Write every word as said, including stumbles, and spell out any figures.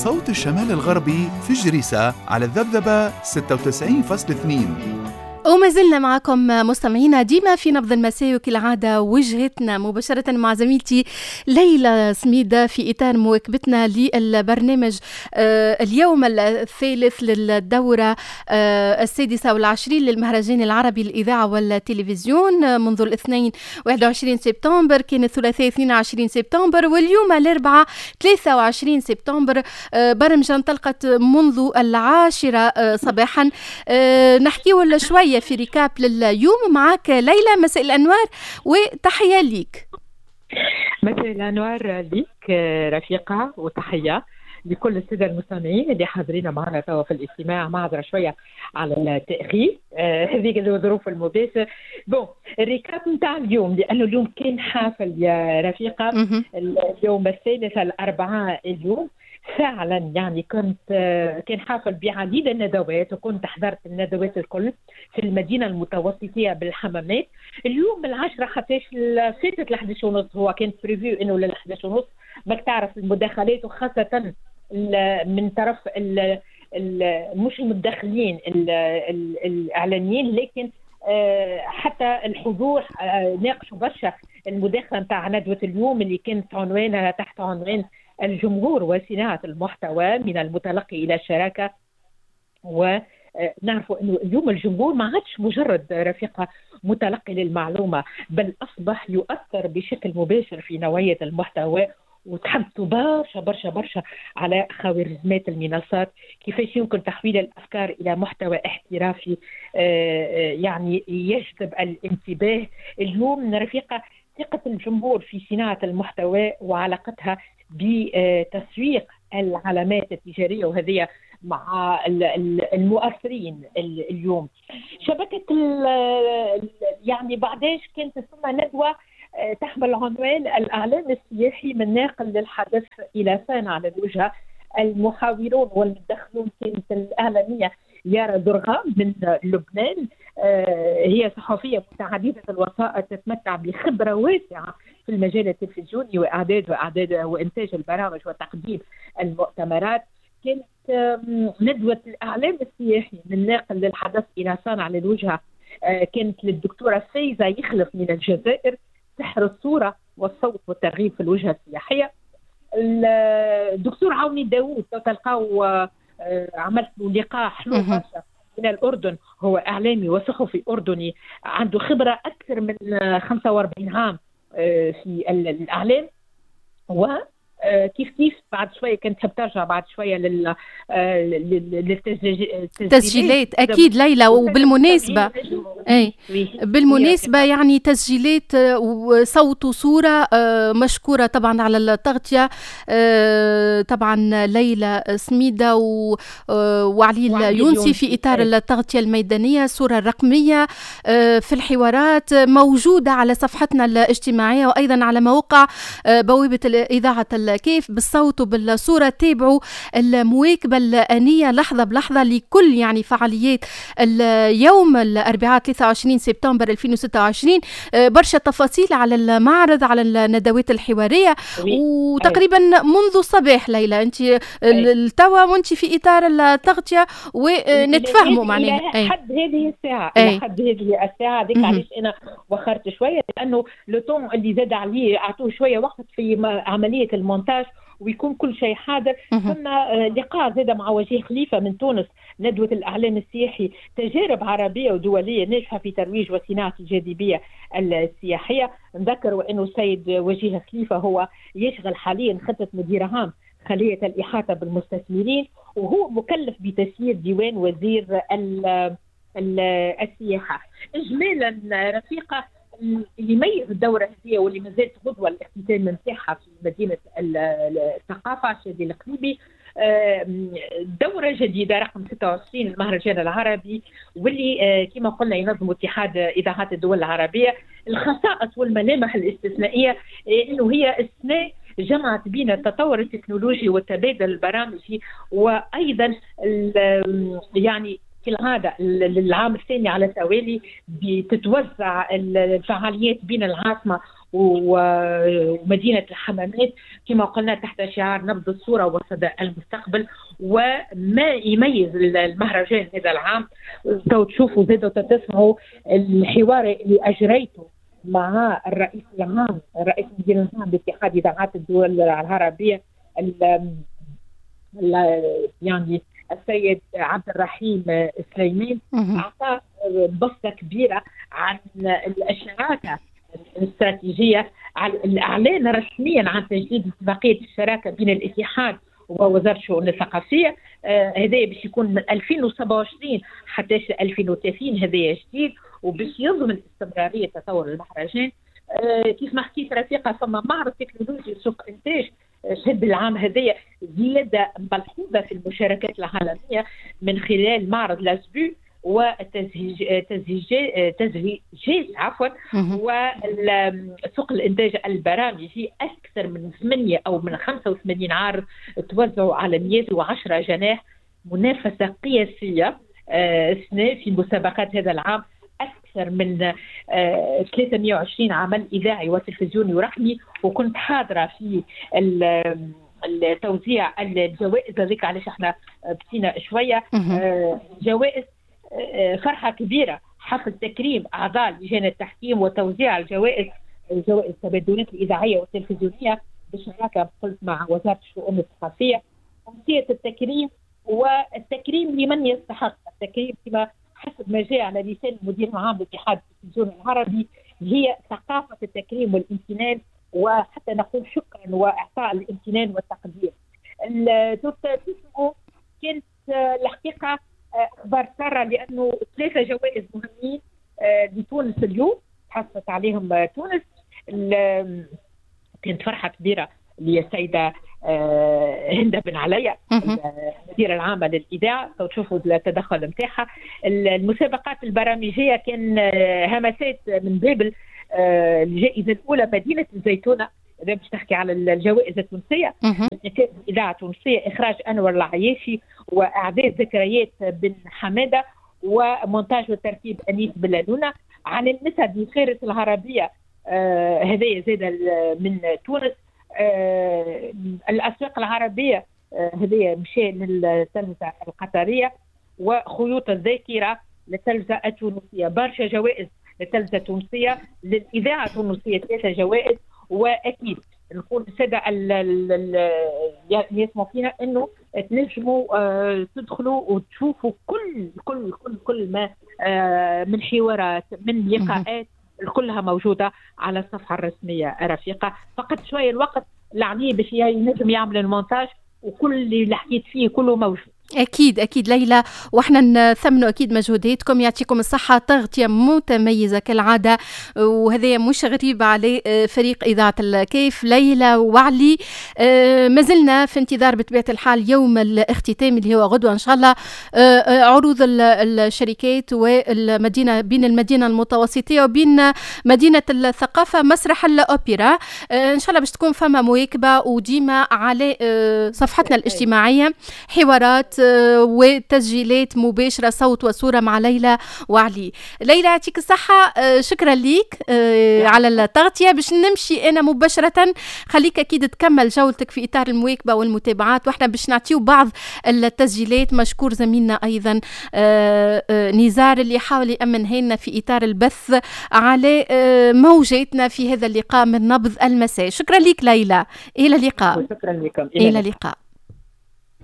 صوت الشمال الغربي في جريسة على الذبذبة ستة وتسعين فاصلة اثنين. وما زلنا معكم مستمعينا ديما في نبض المساء، وكالعادة وجهتنا مباشرة مع زميلتي ليلى سميدة في إطار مواكبتنا للبرنامج اليوم الثالث للدورة السادسة والعشرين للمهرجان العربي للإذاعة والتلفزيون منذ الاثنين واحد وعشرين سبتمبر، كان الثلاثاء اثنين وعشرين سبتمبر، واليوم الأربعاء ثلاثة وعشرين سبتمبر. برمجة انطلقت منذ العاشرة صباحا. نحكي ولا شوية في récap لليوم معاك ليلى. مساء الأنوار وتحية ليك. مساء الأنوار ليك رفيقة، وتحية لكل السادة المستمعين اللي حاضرين معنا توا في الاجتماع. معذرة شوية على التأخير، هذيك آه الظروف المباشرة. bon ال récap نتاع اليوم، لأنه اليوم كان حافل يا رفيقة. اليوم الثالث الأربعاء اليوم فعلا يعني كنت كان حافل بعديد الندوات، وكنت حضرت الندوات الكل في المدينة المتوسطيه بالحمامات. اليوم العشرة حتى فاتت الأحد ونص، هو كان prévu انه للأحد ونص. ماك تعرف المداخلات، وخاصة من طرف ال ال مش المتدخلين الاعلاميين، لكن حتى الحضور ناقشوا برشا المداخلة نتاع ندوه اليوم اللي كانت عنوانها تحت عنوان الجمهور وصناعة المحتوى من المتلقي إلى الشراكة. ونعرف أنه اليوم الجمهور ما عادش مجرد رفيقة متلقي للمعلومة، بل أصبح يؤثر بشكل مباشر في نوعية المحتوى. وتحدثوا برشا برشا برشا على خوارزميات المنصات، كيفاش يمكن تحويل الأفكار إلى محتوى احترافي يعني يجذب الانتباه. اليوم رفيقة ثقة الجمهور في صناعة المحتوى وعلاقتها بتسويق العلامات التجارية، وهذه مع المؤثرين اليوم. شبكة يعني بعداش كانت ثم ندوة تحمل عنوان الإعلام السياحي من ناقل للحدث إلى صانع للوجهة. المحاورون والمتدخلون كانت الإعلامية يارا درغام من لبنان، هي صحفية متعددة الوسائط تتمتع بخبرة واسعة في المجال التلفزيوني وإعداد وإعداد وإنتاج البرامج وتقديم المؤتمرات. كانت ندوة الإعلام السياحي من ناقل للحدث إلى صانع للوجهة كانت للدكتورة فايزة يخلف من الجزائر، سحر الصورة والصوت والترغيب في الوجهة السياحية. الدكتور عوني داوود تلقاو عملت له لقاء حلو برشا من الأردن، هو إعلامي وصحفي أردني عنده خبرة أكثر من خمسة وأربعين عام في الإعلام. و كيف كيف بعد شوية كنت تحب ترجع بعد شوية لل للتسجيلات اكيد ليلى. وبالمناسبة اي بالمناسبة يعني تسجيلات وصوت وصوره، مشكورة طبعا على التغطية طبعا ليلى سميده وعلي اليونسي في اطار التغطية الميدانية، الصورة الرقمية في الحوارات موجودة على صفحتنا الاجتماعية وايضا على موقع بوابه اذاعة كيف بالصوت وبالصورة. تابعوا المواكبة الآنية لحظة بلحظة لكل يعني فعاليات اليوم الأربعاء ثلاثة وعشرين سبتمبر ألفين وستة وعشرين. برشا تفاصيل على المعرض، على الندوات الحوارية، وتقريبا منذ الصباح ليلى أنت التوا وأنت في إطار التغطية ونتفهموا معناها إلى حد هذه الساعة. إلى حد هذه الساعة ذيك علاش أنا وخرت شوية، لأنه le temps اللي زاد عليه أعطوه شوية وقت في عملية المونتاج ويكون كل شيء حاضر. ثم لقاء زاد مع وجيه خليفة من تونس، ندوة الإعلام السياحي، تجارب عربية ودولية ناجحة في ترويج وصناعة الجاذبية السياحية. نذكر وأنه السيد وجيه خليفة هو يشغل حاليا خطة مدير عام خلية الإحاطة بالمستثمرين، وهو مكلف بتسيير ديوان وزير السياحة. إجمالا رفيقة، اللي يميز الدورة هذه واللي ما زالت غدوة الاختتام نتاعها في مدينة الثقافة شادي القليبي، دورة جديدة رقم ستة وعشرين المهرجان العربي، واللي كما قلنا ينظم اتحاد إذاعات الدول العربية. الخصائص والملامح الاستثنائية إنه هي السنة جمعت بين التطور التكنولوجي والتبادل البرامجي، وأيضا يعني كالعادة العام الثاني على التوالي بتتوزع الفعاليات بين العاصمة ومدينة الحمامات كما قلنا تحت شعار نبض الصورة وصدى المستقبل. وما يميز المهرجان هذا العام تو تشوفوا زادوا تسمعوا الحوار اللي أجريته مع الرئيس العام الرئيس المدير العام لاتحاد إذاعات الدول العربية يعني السيد عبد الرحيم سليمان، أعطى بسطة كبيرة عن الشراكة الاستراتيجية، على الإعلان رسميا عن تجديد اتفاقية الشراكة بين الاتحاد ووزارة الشؤون الثقافية. هذا باش يكون من ألفين وسبعة وعشرين حتى ألفين وثلاثين، هذا جديد وباش يضمن استمرارية تطور المهرجان. كيف ما حكيت رفيقة، فما معرض تكنولوجي سوق إنتاج شهد العام هذايا زيادة ملحوظة في المشاركات العالمية من خلال معرض لاسبو وتزهيج تزهيج عفوا وسوق الإنتاج البرامجي. أكثر من ثمانية أو من خمسة وثمانين عارض توزعوا على مئة وعشرة جناح، منافسة قياسية السنة في مسابقات هذا العام، أكثر من ثلاثمئة وعشرين عمل إذاعي وتلفزيوني ورقمي. وكنت حاضرة في التوزيع الجوائز هذيك، علاش احنا بسينا شوية جوائز. فرحة كبيرة، حفل تكريم أعضاء لجان التحكيم وتوزيع الجوائز، الجوائز التبادلات الإذاعية والتلفزيونية بالشراكة قلت مع وزارة الشؤون الثقافية. أمسية التكريم والتكريم لمن يستحق التكريم كما حسب ما جاء على لسان المدير العام لاتحاد التلفزيون العربي، هي ثقافة التكريم والامتنان، وحتى نقول شكرا وإعطاء الامتنان والتقدير. كانت الحقيقة أخبار سارة، لأنه ثلاثة جوائز مهمين لتونس اليوم حصلت عليهم تونس. كانت فرحة كبيرة للسيدة هند بن عليا المديرة العامة للإذاعة، تشوفوا التدخل نتاعها. المسابقات البرامجية كان همسات من بابل، الجائزة الأولى مدينة الزيتونة، إذا باش نحكي على الجوائز التونسية، الإذاعة التونسية إخراج أنور العياشي وإعداد ذكريات بن حمادة ومونتاج وترتيب أنيس بلالونة. عن المسد فارس العربية هذايا زاد من تونس. آه الأسواق العربية هذه آه مشى للتلفزة القطرية، وخيوط الذاكرة للتلفزة التونسية. برشا جوائز للتلفزة التونسية، للإذاعة التونسية ثلاثة جوائز. وأكيد نقول السادة اللي يسمعوا فينا أنه تنجموا آه تدخلوا وتشوفوا كل كل كل كل ما آه من حوارات من لقاءات كلها موجودة على الصفحة الرسمية رفيقة. فقط شوية الوقت لعني باش ينجم يعمل المونتاج وكل اللي حكيت فيه كله موجود. أكيد أكيد ليلى، وإحنا نثمنوا أكيد مجهوداتكم، يعطيكم الصحة، تغطية متميزة كالعادة، وهذا مش غريب على فريق إذاعة الكيف. ليلى وعلي، ما زلنا في انتظار بطبيعة الحال يوم الاختتام اللي هو غدوة إن شاء الله، عروض الشركات والمدينة، بين المدينة المتوسطية وبين مدينة الثقافة مسرح الأوبرا. إن شاء الله باش تكون فما مواكبة، وديما على صفحتنا الاجتماعية حوارات وتسجيلات مباشرة صوت وصورة مع ليلى وعلي. ليلى يعطيك الصحة، شكرا ليك على التغطية. باش نمشي أنا مباشرة، خليك أكيد تكمل جولتك في إطار المواكبة والمتابعات، وإحنا باش نعطيو بعض التسجيلات. مشكور زميلنا أيضا نزار اللي حاول يأمنها لنا في إطار البث على موجاتنا في هذا اللقاء من نبض المساء. شكرا لك ليلى، إلى اللقاء. شكرا لكم، إلى اللقاء.